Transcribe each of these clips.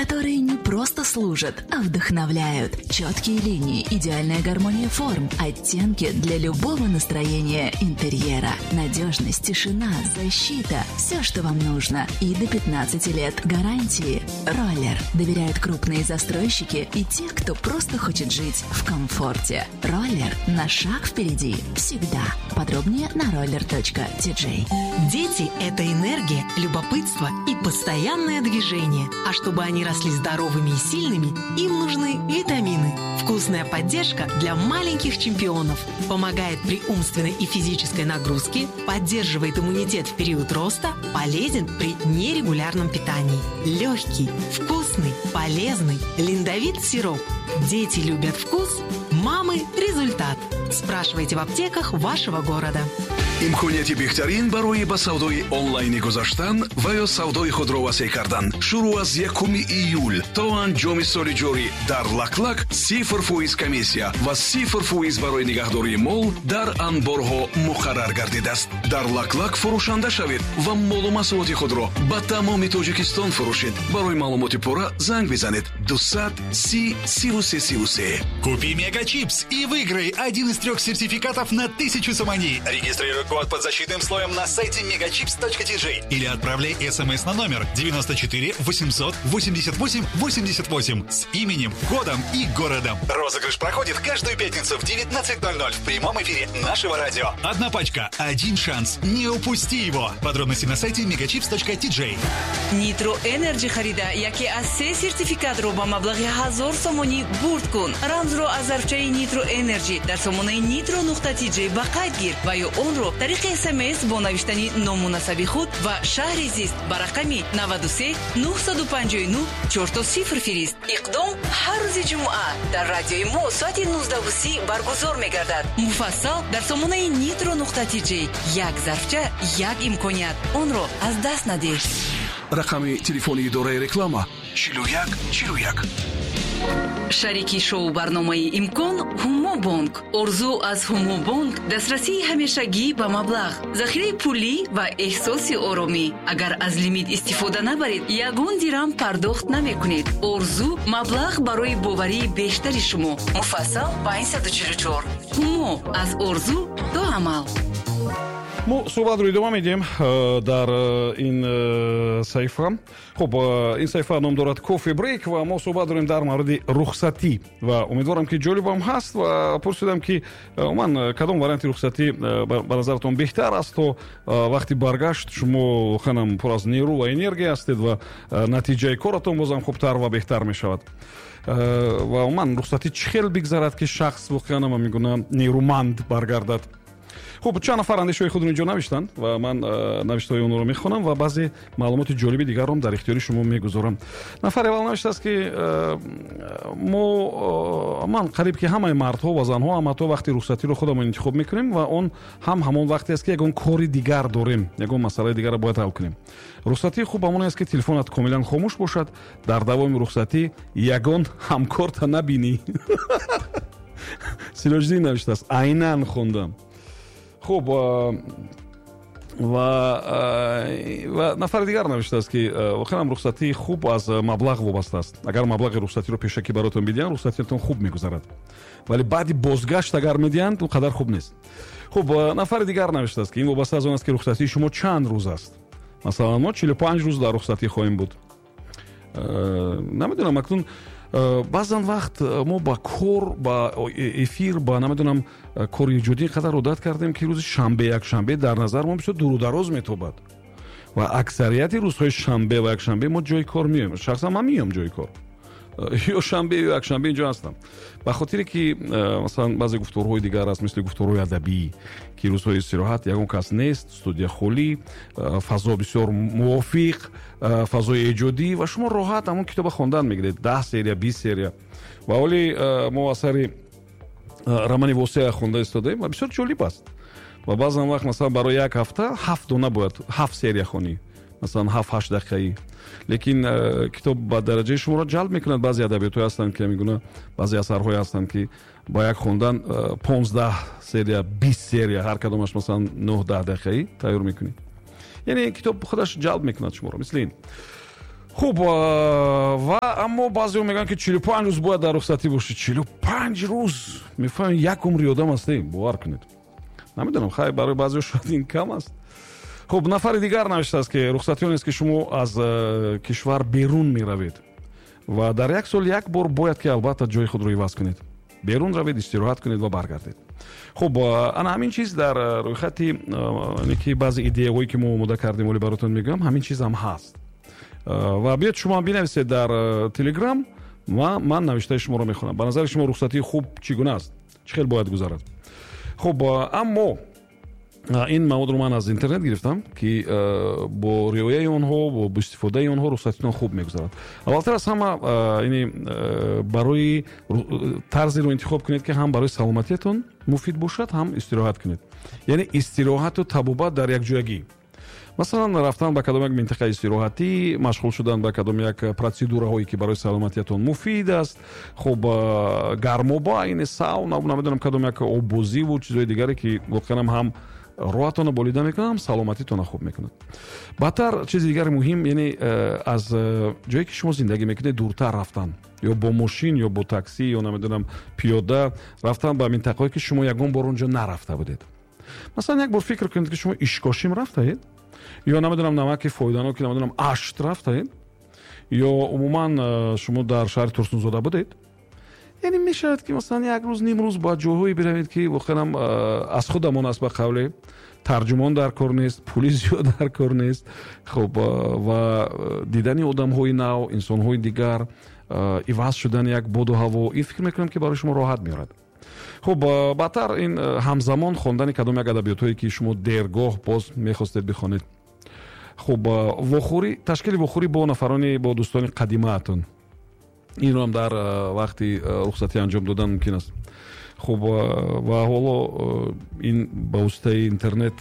Которые не просто служат, а вдохновляют. Четкие линии, идеальная гармония форм, оттенки для любого настроения интерьера. Надежность, тишина, защита – все, что вам нужно. И до 15 лет гарантии. Роллер. Доверяют крупные застройщики и те, кто просто хочет жить в комфорте. Роллер на шаг впереди. Всегда. Подробнее на roller.tj. Дети – это энергия, любопытство и постоянное движение. А чтобы они росли здоровыми и сильными, им нужны витамины. Вкусная поддержка для маленьких чемпионов. Помогает при умственной и физической нагрузке, поддерживает иммунитет в период роста, полезен при нерегулярном питании. Легкий, вкусный, полезный Линдовит сироп. Дети любят вкус, мамы – результат. Спрашивайте в аптеках вашего города. Имконияти беҳтарин барои ба савдои онлайнӣ гузаштан ва ё савдои худро васеъ кардан шурӯъ аз 1 июл то анҷоми соли ҷорӣ дар Лаклак 0% комиссия ва 0% барои нигаҳдории мол дар анборҳо муқаррар гардидааст. Дар Лаклак фурӯшанда шавед ва молу маҳсулоти худро ба тамоми Тоҷикистон фурӯшед. Барои маълумоти пурра занг бизанед: 230 33 33. Купи Мегачипс и выиграй один из трех сертификатов на 1000 сомони. Регистрируй код под защитным слоем на сайте megachips.tj или отправляй смс на номер 94 888 88 с именем, кодом и городом. Розыгрыш проходит каждую пятницу в 19:00 в прямом эфире нашего радио. Одна пачка, один шанс. Не упусти его. Подробности на сайте megachips.tj. Нитро Энерджи харида, яке аз се сертификатро ба маблағи 1000 сомонӣ бурд кун. Рамзро аз зарфчаи Нитро Энерджи дар сомонаи nitro.tj ба қайд гир ва ё онро тариқи СМС бо навиштани ному насаби худ ва шаҳри зист ба рақами 93 959 00 фирист. Иқдом ҳар рӯзи ҷумъа дар радиои мо соати 19:30 баргузор мегардад. Муфассал дар сомонаи nitro.tj. Як зарфча, як имконият, онро аз даст надиҳ. Рақами телефони идораи реклама: 41 41. Шарики шоу барномаи «Имкон» Ҳумобонк. Орзу аз Ҳумобонк: дастрасии ҳамешагӣ ба маблағ, захираи пулӣ ва эҳсоси оромӣ. Агар аз лимит истифода набаред, ягон дирам пардохт намекунед. Орзу: маблағ барои боварии бештари шумо. Муфассал: 544. Ҳумо: аз орзу то амал. Мо суҳбатро идома медиҳем дар ин саҳифа. Хуб, ин саҳифа ном дорад «Кофе брейк» ва мо суҳбат дорем дар мавриди рухсатӣ ва умедворам, ки ҷолибам ҳаст. Ва пурсидам, ки умуман кадом варианти рухсатӣ ба назаратон беҳтар аст, то вақти баргашт шумо воқеанам пур аз нерӯ ва энергия ҳастед ва натиҷаи коратон бозам хубтар ва беҳтар мешавад. Ва умуман рухсатӣ чӣ хел бигзарад, ки шахс воқеанам мегӯна нерӯманд баргардад? Хуб, чанд нафар андешаҳои худро инҷо навиштанд ва ман навиштаҳои онҳоро мехонам ва баъзе маълумоти ҷолиби дигарро дар ихтиёри шумо мегузорам. Нафари аввал навиштааст, ки мо, ман, қариб ки ҳамаи мардҳо ва занҳо ҳам ҳатто вақти рухсатиро худамон интихоб мекунем ва он ҳам ҳамон вақте аст, ки ягон кори дигар дорем, ягон масъалаи дигарро бояд ҳал кунем. Рухсатии хуб ҳамон аст, ки телефонат комилан хомӯш бошад, дар давоми рухсатӣ ягон ҳамкорта набинӣ. Сироҷиддин навиштааст, айнан хондам. Хуб, ва нафари дигар навиштааст, ки воқеан рухсатии хуб аз маблағ вобаста аст. Агар маблағи рухсатиро пешакӣ бароятон бидиҳанд, рухсатиятон хуб мегузарад, вале баъди бозгашт агар медиҳанд, он қадар хуб нест. Хуб, нафари дигар навиштааст, ки ин вобаста аз он аст, ки рухсатии шумо чанд рӯз аст. Масалан, мо 45 рӯз дар рухсатӣ хоҳем буд. Намедонам, акнун баъзан вақт мо ба кор, ба эфир, ба, намедонам, кори эҷодӣ ин қадар одат кардем, ки рӯзи шанбе, якшанбе дар назар мо бисёр дуру дароз метобад ва аксарияти рӯзҳои шанбе ва якшанбе мо ҷои кор меоем. Шахсан ман меоям ҷои кор, ё шанбе, ё якшанбе инҷо ҳастам, ба хотире ки масалан баъзе гуфторҳои дигар аст, мисли гуфторҳои адабӣ, ки рӯзҳои истироҳат ягон кас нест, студия холӣ, фазо бисёр мувофиқ, фазои эҷодӣ ва шумо роҳат ҳамон китоба хондан мегиред, 10 серия, 20 серия. Ва ҳоли мо асари романи Восеа хонда истодаем ва бисёр ҷолиб аст. Ва баъзан вақт, масалан, барои як ҳафта ҳафт дона бояд, ҳафт серия хонӣ, масалан, 7-8 дақиқаӣ, лекин китоб ба дараҷаи шуморо ҷалб мекунад. Баъзе адабиётҳое ҳастанд, ки мегуна баъзе асарҳое ҳастанд, ки ба як хондан 15 серия, 20 серия, ҳар кадомаш, масалан, 9-10 дақиқаӣ тайёр мекунӣ. Яъне китоб худаш ҷалб мекунад шуморо, мисли ин. Хуб, ва Аммо баъзеҳо мегӯянд, ки 45 рӯз бояд дар рухсатӣ бошӣ. 45 рӯз, мефаҳмед, як умри одам ҳастем, бовар кунед. Намедонам, хай, барои баъзеҳо шояд ин кам аст. Хуб, нафари дигар навиштааст, ки рухсатӣ он аст, ки шумо аз кишвар берун меравед ва дар як сол як бор бояд ки албатта ҷои худро иваз кунед, берун равед, истироҳат кунед ва баргардед. Хуб, ана ҳамин чиз дар рӯйхати ки баъзе идеяҳое, ки мо омода кардем, оли баротон мегӯям, ҳамин чиз ҳам ҳаст. Ва биёед, шумо бинависед дар Телеграм ва ман навиштаи шуморо мехонам. Ба назари шумо рухсатии хуб чӣ гуна аст, чӣ хел бояд гузарад? Хуб, аммо ин маводро ман аз интернет гирифтам, ки бо риояи онҳо, бо истифодаи онҳо рухсатитон хуб мегузарад. Аввалтар аз ҳама, ини барои тарзеро интихоб кунед, ки ҳам барои саломатиятон муфид бошад, ҳам истироҳат кунед, яъне истироҳату табобат дар якҷоягӣ. Масалан, рафтан ба кадом як минтақаи истироҳатӣ, машғул шудан ба кадом як процедураҳое, ки барои саломатиятон муфид аст. Хуб, гармоба, ини сауна, намедонам, кадом як оббозиву чизҳои дигаре, ки воқеан ҳам роҳатонро болида мекунад, ҳам саломатитонро хуб мекунад. Баъдтар, чизи дигари муҳим, яъне аз ҷое, ки шумо зиндагӣ мекунед, дуртар рафтан, ё бо мошин, ё бо таксӣ, ё намедонам, пиёда рафтан ба минтақаҳое, ки шумо ягон бор онҷо нарафта будед. Масалан, як бор фикр кунед, ки шумо Ишкошим рафтаед ё, намедонам, намаки фоиданоки, намедонам, Ашт рафтаед, ё умуман шумо дар шаҳри Турсунзода будед. Яъне мешавад, ки масалан як рӯз, нимрӯз ба ҷойҳое биравед, ки воқеан аз худамон аст, ба қавле тарҷумон дар кор нест, пули зиёд дар кор нест. Хуб, ва дидани одамҳои нав, инсонҳои дигар, иваз шудани як боду ҳаво, ин фикр мекунам, ки барои шумо роҳат меорад. Хуб, баъдтар ин ҳамзамон хондани кадом як адабиётҳое, ки шумо дергоҳ боз мехостед бихонед. Хуб, вохӯрӣ, ташкили вохӯрӣ бо нафарони, бо дӯстони қадимаатон, инро ҳам дар вақти рухсатӣ анҷом додан мумкин аст. Хуб, ва ҳоло ин ба воситаи интернет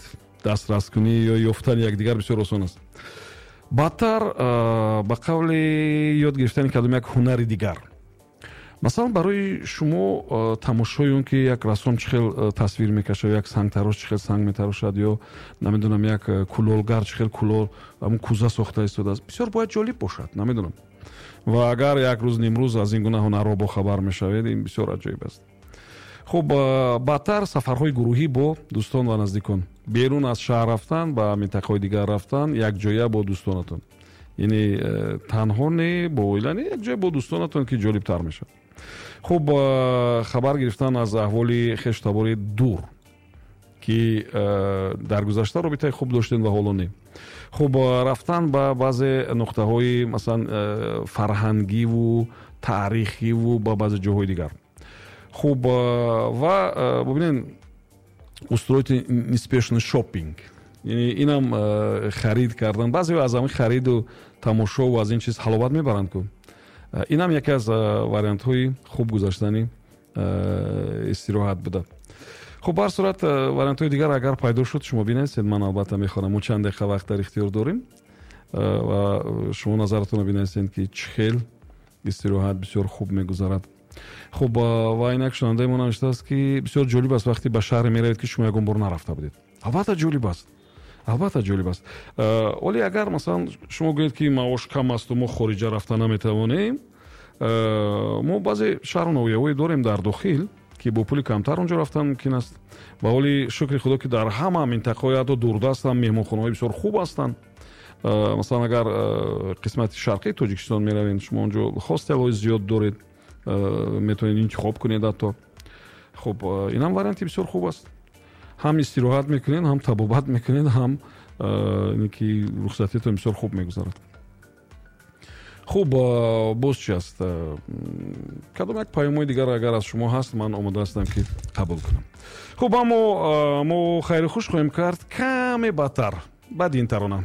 дастраскунӣ ё ёфтани якдигар бисёр осон аст. Баъдтар, ба қавли ёд гирифтани кадом як ҳунари дигар. Масалан, барои шумо тамошои он, ки як рассом чӣ хел тасвир мекашад, як сангтарош чӣ хел санг метарошад, ё, намедонам, як кулолгар чӣ хел кулол, ҳамун кӯза сохта истодааст, бисёр бояд ҷолиб бошад, намедонам. Ва агар як рӯз, нимрӯз аз ин гуна ҳунарҳо бохабар мешавед, ин бисёр аҷоиб аст. Хуб, баъдтар сафарҳои гурӯҳӣ бо дӯстон ва наздикон, берун аз шаҳр рафтан, ба минтақаҳои дигар рафтан якҷоя бо дӯстонатон, яъне танҳо не, бо оила не, якҷоя бо дӯстонатон, ки ҷолибтар мешавад. Хуб, хабар гирифтан аз аҳволи хештабори дур, ки дар гузашта робитаи хуб доштем ва ҳоло не. Хуб, рафтан ба баъзе нуқтаҳои, масалан, фарҳангиву таърихиву ба баъзе ҷоҳои дигар. Хуб, ва бубинед, устроить неспешный шоппинг, яъне инам харид кардан. Баъзеҳо аз ҳамин хариду тамошову аз ин чиз ҳаловат мебаранд ку. Инам яке аз вариантҳои хуб гузаштани истироҳат буда. Хуб, ба ҳар сурат, вариантҳои дигар агар пайдо шуд, шумо бинависед, ман албатта мехонам. Мо чанд дақиқа вақт дар ихтиёр дорем ва шумо назаратонро бинависед, ки чӣ хел истироҳат бисёр хуб мегузарад. Хуб, ва инак шунавандаи мо навиштааст, ки бисёр ҷолиб аст, вақте ба шаҳре меравед, ки шумо ягон бор нарафта будед. Албатта ҷолиб аст, албатта ҷолиб аст. Оле агар, масалан, шумо гӯед, ки маош кам асту мо хориҷа рафта наметавонем, мо баъзе шаҳру ноҳияҳое дорем дар дохил, ки бо пули камтар онҷо рафтан мумкин аст. Ва ҳоли, шукри Худо, ки дар ҳама минтақаҳои ҳатто дурдастам меҳмонхонаҳои бисёр хуб ҳастанд. Масалан, агар қисмати шарқии Тоҷикистон меравед, шумо онҷо хостелҳои зиёд доред, метавонед интихоб кунед ҳатто. Хуб, инам варианти бисёр хуб аст: ҳам истироҳат мекунед, ҳам табобат мекунед, ҳам ки рухсатиятон бисёр хуб мегузарад. Хуб, боз чи аст? Кадом як паёмҳои дигар агар аз шумо ҳаст, ман омода ҳастам, ки қабул кунам. Хуб, аммо мо хайру хуш хоҳем кард каме баъдтар, баъди ин тарона.